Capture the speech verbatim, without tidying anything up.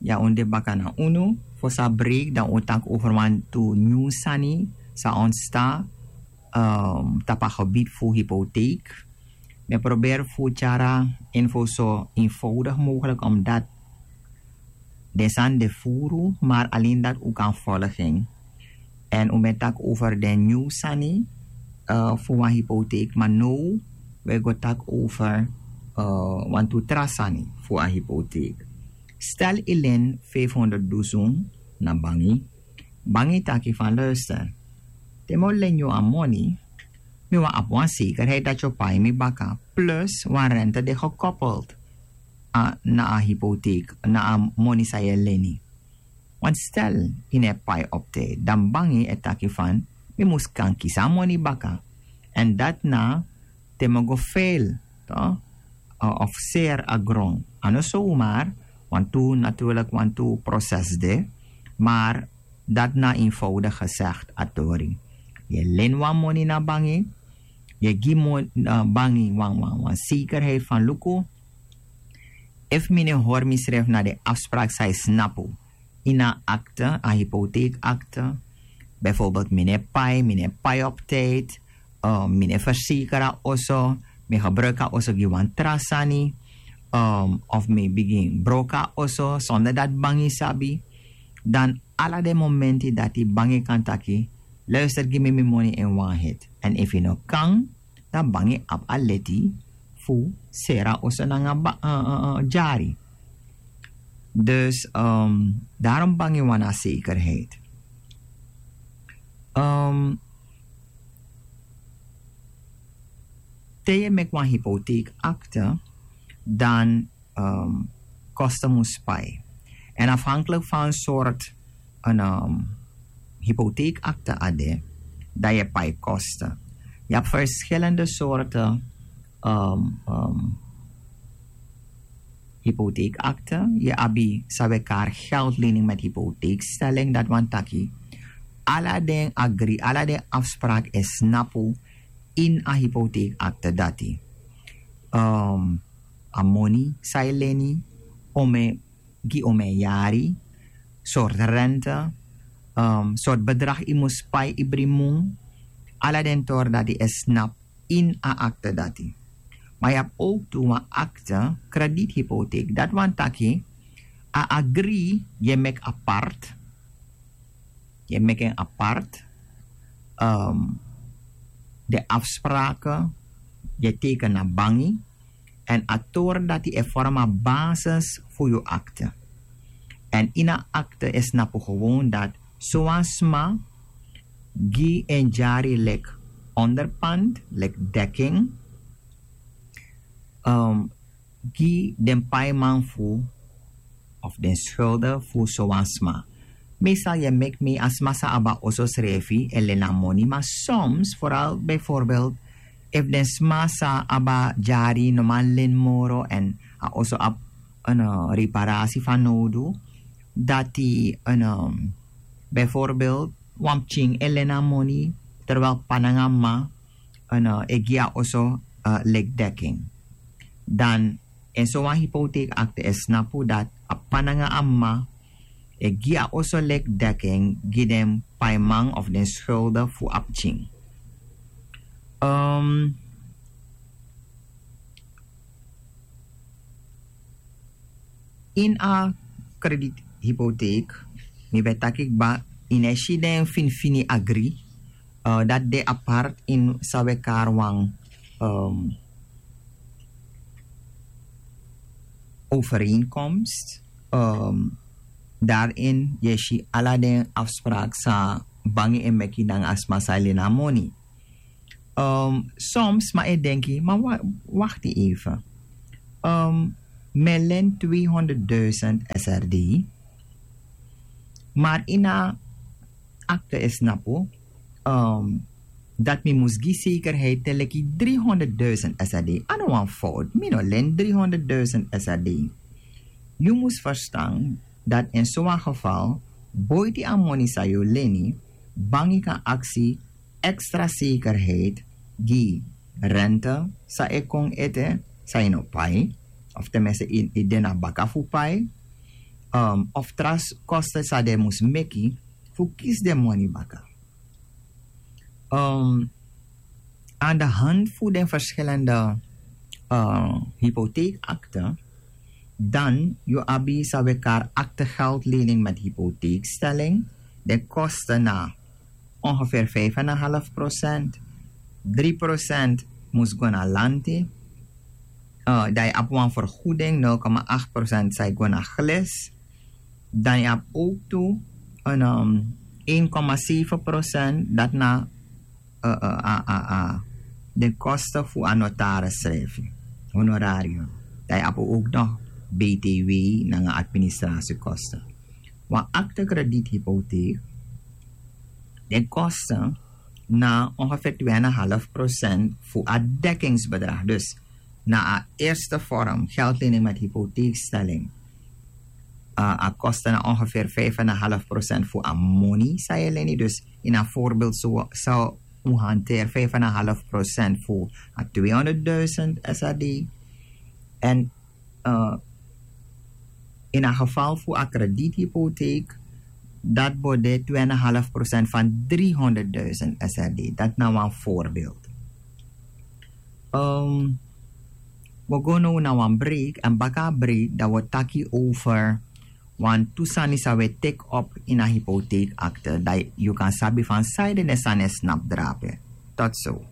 Ya un de baka na unu. Fosi a break dan un taki over wantu nyun sani san ontsta, um, tapu a gebied fu hypotheek. Mi e probeer fu tyari a info so eenvoudig mogelijk, omdat den sani de furu maar alleen dat un kan volgen. En un ben taki over den nyun sani, uh, fu wan hypotheek, maar now we go taki over, uh, wantu tra sani fu a hypotheek. Stel yu len vijfhonderd dusun na bangi. Bangi taki van luister, te mi o len yu a moni, mi wan abi wan zekerheid dat yu o pai mi baka, plus wan rente de gekoppeld a, na a hypotheek, na a moni san yu e leni. Want stel yu no e pai op tijd, dan bangi e taki van mi mus kan kisi a moni baka. En dat na te mi go veil, toch? Uh, of seer a grond. A no zomaar, want tu natuurlijk, want tu proces de, maar dat na eenvoudig gezegd a tori. Yu e len wan moni na bangi, yu e gi mon, uh, bangi wan, wan, wan zekerheid van luku. Efu mi no e hori misrefi na den afspraak san yu snapu ini a akte, a hypotheekakte. Bijvoorbeeld mi no e pai, mi no e pai op tijd, um, mi no e verzeker a oso, mi gebruik a oso gi wan tra sani, um, of mi bigin broko a oso zonder dat bangi sabi, dan ala den momenti dati bangi kan taki, luister gi mi mi moni in wan hit. En efu yu no kan, dan bangi abi a leti fu seri a oso nanga ba, uh, uh, uh, dyari. Dus, um, daarom bangi wani a zekerheid. Um, te yu e meki wan hypotheekakte, dan, um, kosten mus pai. En afhankelijk van soort een, um, hypotheekakte a de, dan yu e pai kosten. Yu abi verschillende soorten, um, um, hypotheekakte. Yu abi san we kari geldlening met hypotheekstelling, dat wani taki ala den agri, ala den afspraak e snapu ini a hypotheekakte dati. Um, a moni san yu leni, omeni gi omeni yari, soort rente, um, soort bedrag yu mus pai ibri mun, ala den tori dati e snapu ini a akte dati. Maar yu abi ook tu wan akte, krediethypotheek, dat wani taki a agri yu e meki apart, yu e meki en apart, um, de afspraken, yu e teken na bangi, en a tori dati e vorm a basis fu yu akte. En ini a akte e snapu gewoon dat sowan sma gi en dyari leki onderpand, leki dekking, um, gi den paiman fu of den schulden fu sowan sma. Meestal yu e meki mi a sma san abi a oso srefi e leni a moni, maar soms, vooral bijvoorbeeld efu den sma san abi a dyari no man leni moro en a oso abi een, uh, reparatie fanodu, dati een, um, bijvoorbeeld wan pikin e leni a moni, terwijl p'pa nanga m'ma, uh, e gi a oso, uh, leki dekking. Dan in sowan hypotheekakte e snapu dat a p'pa nanga a m'ma e gi a oso leki dekking gi den paiman of den schulden fu a pikin. Um, ini a krediethypotheek, mi ben taki kba, yu no e si den finifini agri, uh, dati de apart ini san we kari wan, um, overeenkomst. Um, daarin yu e si ala den afspraak san bangi e meki nanga a sma san e leni a moni. Um, soms sma e denki, maar wa-, wacht even. Um, mi e leni tweehonderdduizend S R D, maar ini a akte e snapu, um, dat mi mus gi zekerheid te leki driehonderdduizend S R D. A no wan fout, mi no leni driehonderdduizend S R D. Yu mus verstaan dat in sowan geval, boiti a moni san yu leni, bangi kan aksi extra zekerheid gi rente san e kon ete, san yu no pai, of tenminste yu, yu de na baka fu pai. um, of tra kosten san den mus meki fu kisi den moni baka. Um, aan de hand fu den verschillende uh, hypotheekakte, dan yu abi san we kari akte geldlening met hypotheekstelling. Den kosten na ongeveer vijf en een half procent. Drie procent mus go na lanti. Uh, dan yu abi wan vergoeding nul komma acht procent san yu go na glis. Dan yu abi ook tu een um, een komma zeven procent dat na uh, uh, uh, uh, uh, de kosten fu a notaris schrijven, honorarium. Dan yu abi ook nog B T W nanga administratiekosten. Wan akte krediethypotheek, den kosten na ongeveer twee en een half procent fu a dekkingsbedrag. Dus na a eerste vorm geldlening met hypotheekstelling, uh, a kosten na ongeveer vijf en een half procent fu a moni san yu leni. Dus in a voorbeeld so, so un hanteer vijf en een half procent fu a tweehonderdduizend S R D. En uh, in a geval fu a krediethypotheek, dat bo de twee en een half procent van driehonderdduizend S R D. Dat na wan voorbeeld. Um, we go now na wan break en baka a break dan we taki over wan tu sani san we take up in a hypotheekakte. Dat yu kan sabi van san yu den sani snap drape. Tot zo.